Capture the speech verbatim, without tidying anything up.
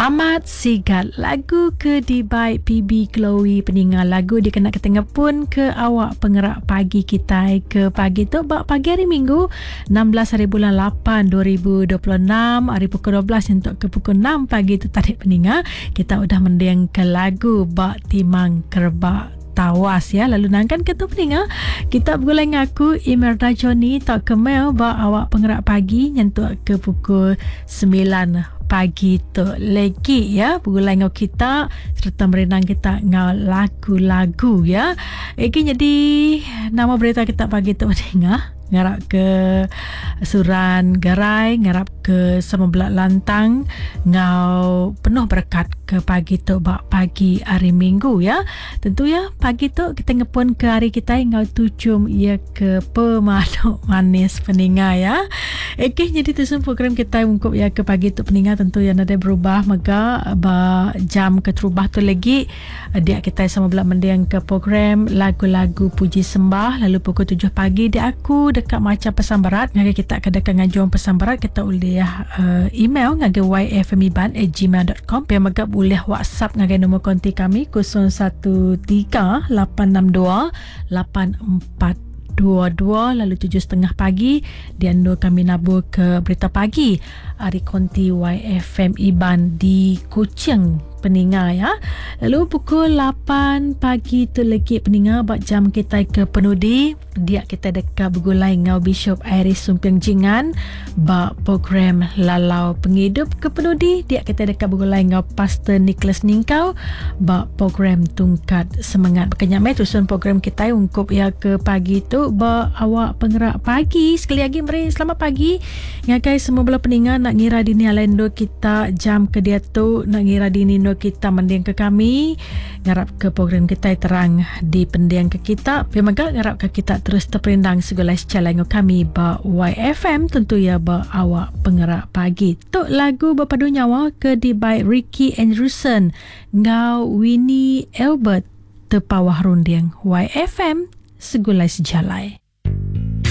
Amat sigat lagu ke dibai P B Chloe peninga lagu dikena kita ngepun ke awak pengerak pagi kita ke pagi tu bak pagi hari Minggu enam belas hari bulan lapan dua ribu dua puluh enam hari pukul dua belas untuk ke pukul enam pagi tu tadi peninga kita udah mending ke lagu bak Timang Kerebak Tawas ya. Lalu nangkan ke tu peninga kita bergulai ngaku Imelda Johnny tak ke mail bak awak pengerak pagi nyentuk ke pukul sembilan pagi tu lagi ya, bergulai ngau kita serta merenang kita ngau lagu-lagu ya. Iki jadi nama berita kita pagi tu peninga ngarap ke suran gerai, ngarap ke sama belak lantang ngau penuh berkat ke pagi tu bak pagi hari Minggu ya. Tentu ya pagi tu kita ngepun ke hari kita ngau tucum ia ke pemanuk manis peninga ya. Okey, jadi tu semua program kita ungkup ya ke pagi tu peninga tentu yang ada berubah mega ba jam keterubah tu lagi dia kita sama belak mendiang ke program lagu-lagu puji sembah. Lalu pukul tujuh pagi dia aku dekat macam pesan berat ngagai kita kedekat ngajuan pesan berat kita boleh uh, email ngagai y f m iban at gmail dot com pia mega boleh WhatsApp ngagai nombor konti kami kosong satu tiga lapan enam dua lapan empat dua dua. Lalu tujuh setengah pagi di ando kami nabur ke berita pagi hari konti Y F M Iban di Kuching peninga ya. Lalu pukul lapan pagi tu lagi peninga bak jam kita ke penudi dia kita dekat bergulai ngau Bishop Iris Sumping Jingan bak program Lalau Penghidup ke penudi dia kita dekat bergulai ngau Pastor Nicholas Ningkau bak program Tungkat Semangat. Berkenyak mai tusun program kita ungkup ya ke pagi tu bak awak penggerak pagi. Sekali lagi meri selamat pagi ngagai semua bala peninga nak ngira dini alendo kita jam ke dia tu nak ngira dini no kita mending ke kami ngarap ke program kita terang di pendiang ke kita tapi mega ngarap ke kita terus terperindang segala secara ngau kami ba Y F M tentu ya ba awak penggerak pagi. Tok lagu berpadu nyawa ke di by Ricky Andrewson ngau Winnie Albert terpawah runding Y F M segulai sejalai.